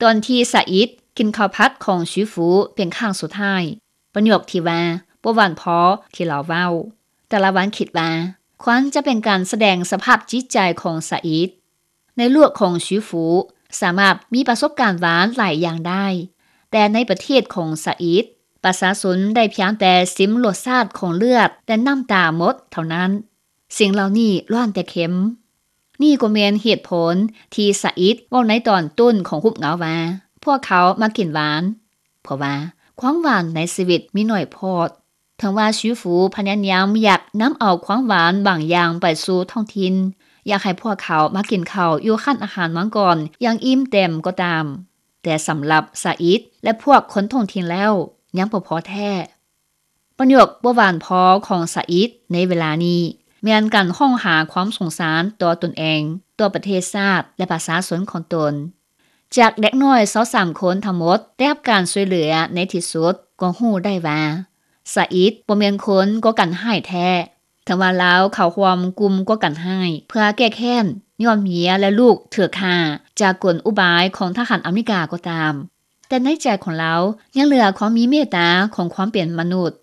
ຕອນທີ່ຊາອິດກິນເຂົ້າຜັດຂອງຊີຟູເປັນຄັ້ງສຸດທ້າຍ, ປະໂຫຍກທີ່ວ່າບໍ່ຫວານພໍທີ່ລາວເວົ້າ, ແຕ່ລະວັນຄິດວ່າຄວນຈະເປັນການສະແດງສະພາບຈິດໃຈຂອງຊາອິດ. ໃນລວກຂອງຊີຟູສາມາດມີປະສົບການຫວານຫຼາຍຢ່າງໄດ້, ແຕ່ໃນປະເທດຂອງຊາອິດ, ປະຊາຊົນໄດ້ພຽງແຕ່ຊິມລົດຊາດຂອງເລືອດ ແລະ ນ້ຳຕາໝົດເທົ່ານັ້ນ. ສິ່ງເຫຼົ່ານີ້ລ້ວນແຕ່ເຄັມ. ນີ້ກໍແມ່ນເຫດຜົນທີ່ຊາອິດເວົ້າໃນຕອນຕົ້ນຂອງຮູບເງົາວ່າ ພວກເຂົາມັກກິນຫວານ, ເພາະວ່າຄວາມຫວານໃນຊີວິດມີໜ້ອຍໂພດ. ເຖິງວ່າຊີຟູພະຍາຍາມຢາກນຳເອົາຄວາມຫວານບາງຢ່າງໄປສູ່ທ້ອງຖິ່ນ, ຢາກໃຫ້ພວກເຂົາມາກິນເຂົ້າຢູ່ຮ້ານອາຫານມັງກອນຢ່າງອີ່ມເຕັມກໍຕາມ, ແຕ່ສຳລັບຊາອິດ ແລະ ພວກຄົນທ້ອງຖິ່ນແລ້ວ ຍັງບໍ່ພໍແທ້. ປະໂຫຍກບໍ່ຫວານພໍຂອງຊາອິດໃນເວລານີ້ ແມ່ນການຮ້ອງຫາຄວາມສົງສານຕໍ່ຕົນເອງ, ຕໍ່ປະເທດຊາດ ແລະ ປະຊາຊົນຂອງຕົນ. ຈາກເດັກນ້ອຍຊາວສາມຄົນທັງໝົດໄດ້ຮັບການຊ່ວຍເຫຼືອໃນທີ່ສຸດ ກໍຮູ້ໄດ້ວ່າ ຊາອິດບໍ່ແມ່ນຄົນກໍ່ການຮ້າຍແທ້. ເຖິງວ່າລາວເຂົ້າຮ່ວມກຸ່ມກໍ່ການຮ້າຍເພື່ອແກ້ແຄ້ນຍ້ອນເມຍ ແລະ ລູກຖືກຂ້າຈາກກົນອຸບາຍຂອງທະຫານອາເມລິກາກໍຕາມ, ແຕ່ໃນໃຈຂອງລາວຍັງເຫຼືອຄວາມມີເມດຕາຂອງຄວາມເປັນມະນຸດ.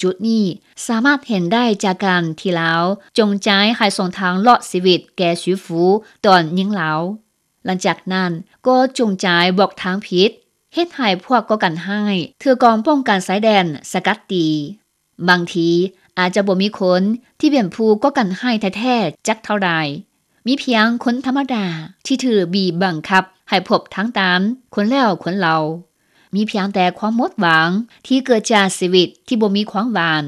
ຈຸດນີ້ສາມາດເຫັນໄດ້ຈາກການທີ່ລາວຈົງໃຈໃຫ້ສອງທາງລອດຊີວິດແກ່ຊີຟູຕອນຍິງລາວ. ຫຼັງຈາກນັ້ນກໍຈົງໃຈບອກທາງຜິດ, ເຮັດໃຫ້ພວກກໍ່ການຮ້າຍຖືກກອງປ້ອງກັນຊາຍແດນສະກັດຕີ. ບາງທີອາດຈະບໍ່ມີຄົນທີ່ເປັນຜູ້ກໍ່ການຮ້າຍແທ້ໆຈັກເທົ່າໃດ. ມີພຽງຄົນທຳມະດາທີ່ຖືກບີບບັງຄັບໃຫ້ພົບທາງຕັນຄົນແລ້ວຄົນເຫຼົ່າ. ມີພຽງແຕ່ຄວາມໝົດຫວັງທີ່ເກີດຈາກຊີວິດທີ່ບໍ່ມີຄວາມຫວັງ.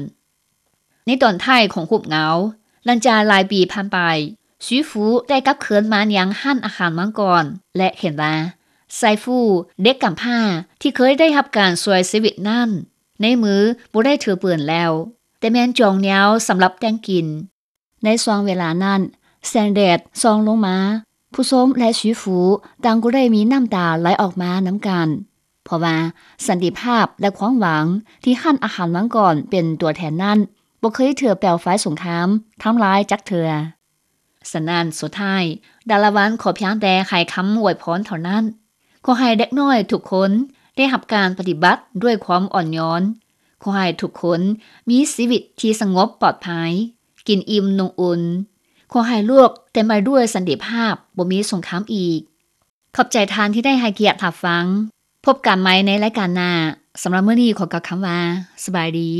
ໃນຕອນທ້າຍຂອງຮູບເງົາ, ຫຼັງຈາກຫຼາຍປີຜ່ານໄປ, ຊີຟູໄດ້ກັບຄືນມາຍັງຮ້ານອາຫານມັງກອນ ແລະ ເຫັນວ່າໄຊຟູເດັກກຳພ້າທີ່ເຄີຍໄດ້ຮັບການຊ່ວຍຊີວິດນັ້ນ ໃນມືບໍ່ໄດ້ຖືປືນແລ້ວ, ແຕ່ແມ່ນຈອງແນວສຳລັບແຕ່ງກິນ. ໃນຊ່ວງເວລານັ້ນ, ແສງແດດສ່ອງລົງມາ, ຜູ້ຊົມ ແລະ ຊີຟູຕ່າງກໍໄດ້ມີນ້ຳຕາໄຫຼອອກມານຳກັນ, ເພາະວ່າສັນຕິພາບ ແລະ ຄວາມຫວັງທີ່ຮ້ານອາຫານມັງກອນເປັນຕົວແທນນັ້ນ ບໍ່ເຄີຍຖືກເປ່ວໄຟສົງຄາມທຳລາຍຈັກເທື່ອ. ສະນັ້ນ, ສຸດທ້າຍ, ດາລາວັນຂໍພຽງແຕ່ໃຫ້ຄຳອວຍພອນເທົ່ານັ້ນ. ຂໍໃຫ້ເດັກນ້ອຍທຸກຄົນໄດ້ຮັບການປະຕິບັດດ້ວຍຄວາມອ່ອນໂຍນ. ຂໍໃຫ້ທຸກຄົນມີຊີວິດທີ່ສະຫງົບປອດໄພ, ກິນອີ່ມນຸ່ງອຸ່ນ. ຂໍໃຫ້ໂລກເຕັມໄປດ້ວຍສັນຕິພາບ, ບໍ່ມີສົງຄາມອີກ. ຂອບໃຈທ່ານທີ່ໄດ້ໃຫ້ກຽດຮັບຟັງ. ພົບກັນໃໝ່ໃນລາຍການໜ້າ. ສຳລັບມື້ນີ້ຂໍກ່າວຄຳວ່າ ສະບາຍດີ.